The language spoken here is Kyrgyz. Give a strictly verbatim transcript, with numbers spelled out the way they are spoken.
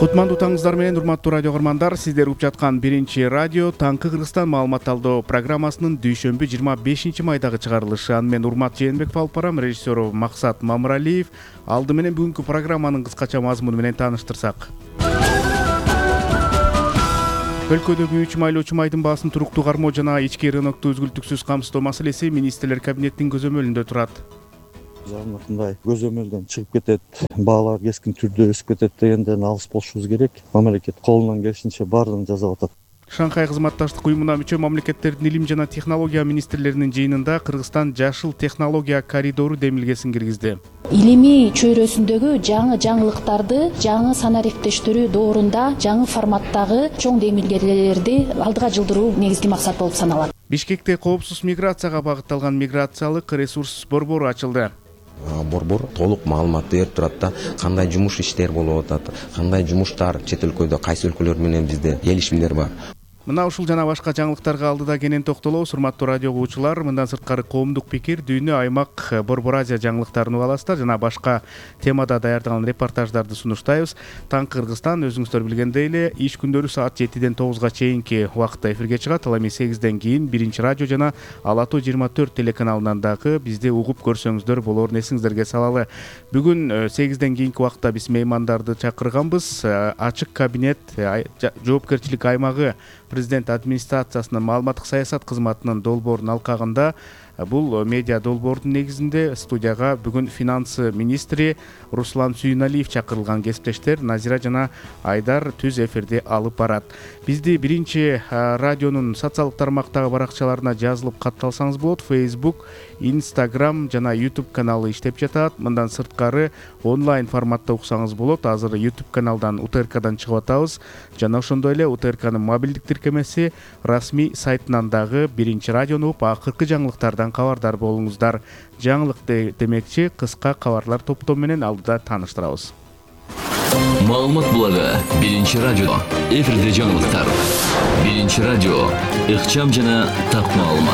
Кутмандуу таңыңыздар менен урматтуу радио көрмандар, сиздер угуп жаткан биринчи радио Таңкы Кыргызстан маалымат алуу программасынын дүйшөмбү жыйырма бешинчи майдагы чыгарылышы. Аны мен Урмат Жээнбеков алып барам, режиссеру Максат Мамыралиев. Алды менен бүгүнкү программанын кыскача мазмуну менен тааныштырсак. Өлкөдөгү үч майлуу чумайдын баасын туруктуу кармоо жана ички рынокту үзгүлтүксүз камсыздоо маселеси министрлер кабинетинин көзөмөлүндө турат. Мындай көзөмөлдөн чыгып кетет, баалар кескин түрдө өсүп кетет дегенден алыс болушубуз керек. Мамлекет колунан келишинче баардыгын жасап атат. Шанхай кызматташтык уюмуна мүчө мамлекеттердин илим жана технология министрлеринин жыйынында Кыргызстан жашыл технология коридору демилгесин киргизди. Илимий чөйрөсүндөгү жаңы жаңылыктарды, жаңы санариптештирүү доорунда жаңы форматтагы чоң демилгелерди алдыга жылдыруу негизги максат болуп саналат. Бишкекте коопсуз миграцияга багытталган миграциялык ресурс борбору ачылды. Борбор толук маалымат берип турат да, кандай жумуш иштер болуп атат, кандай жумуштар чет өлкөдө, кайсы өлкөлөр менен бизде келишимдер бар. Мына ушул жана башка жаңылыктарга алдыда кенен токтолобуз. Урматтуу радио угуучулар, мындан сырткары коомдук пикир, дүйнө, аймак, Борбор Азия жаңылыктарын уга аласыздар жана башка темада даярдалган репортаждарды сунуштайбыз. Таңкы Кыргызстан өзүңүздөр билгендей эле иш күндөрү саат жетиден тогузга чейинки убакытта эфирге чыгат. Ал эми сегизден кийин биринчи радио жана Ала Тоо жыйырма төрт телеканалынан дагы бизди угуп көрсөңүздөр болоорун эсиңиздерге салалы. Бүгүн сегизден кийинки убакытта биз меймандарды чакырганбыз. Ачык кабинет жоопкерчилик аймагы Президент администрациясынын маалыматтык саясат кызматынын долбоорунун алкагында бул медиа долбоордун негизинде студияга бүгүн финансы министри Руслан Сүйүналиев чакырылган. Кесиптештер Назира жана Айдар түз эфирди алып барат. Бизди биринчи радионун социалдык тармактагы баракчаларына жазылып катталсаңыз болот. Facebook, Instagram жана YouTube каналы иштеп жатат. Мындан сырткары онлайн форматта уксаңыз болот. Азыр YouTube каналдан У Т Р Кдан чыгып атабыз жана ошондой эле У Т Р Кнын мобилдик тиркемеси расмий сайтынан дагы биринчи радиону угуп акыркы жаңылыктардан кабардар болуңуздар. Жаңылык демекчи кыска кабарлар топтому менен алдыда тааныштырабыз. Маалымат булагы биринчи радио. Эфирде жаңылыктар. Биринчи радио. Ыкчам жана так маалымат.